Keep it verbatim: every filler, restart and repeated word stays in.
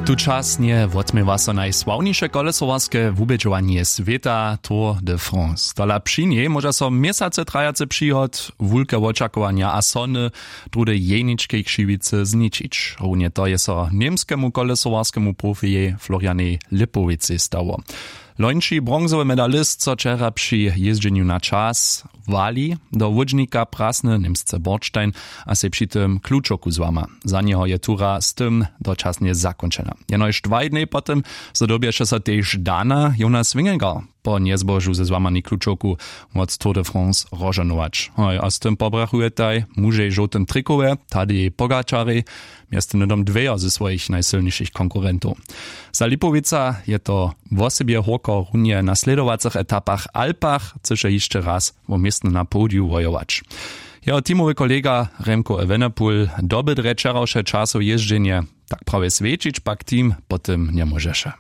Tučasnje wotměwa so najsławniše kolesowarske wubědźowanje swěta, Tour de France. Tola při njej móža so měsace trajacy přihod, wulke wočakowanja a sony druhdy jeničkej křiwicy zničić. Runje to je so němskemu kolesowarskemu profijej Florianej Lipowicej stało. Lońši bronzowy medalist so wčera při jězdźenju na čas wali do łódźnika prasny němsce Bordstein a sej při tym klučoku złama. Za njeho je tura z tym dočasnje zakónčena. Jenož dwaj dnjej po tym zdobješe so tež Dana Jonas Wingegar po njezbožu ze złamani klučoku wot Tour de France rozžohnować. Hoj, a z tym pobrachujetaj mužej w žołtym trikowje Tadej Pogačarej, mjeztym hnydom dwejo ze swojich najsylnišich konkurentow. Za Lipowica je to wosebje hórko runje na slědowacych etapach Alpach chcyše hišće raz wo městno na podiju wojować. Jeho teamowy kolega Remco Evenepoel doby drje wčerawše časow jězdźenje, tak prawje swjećić pak team po tym njemóžeše.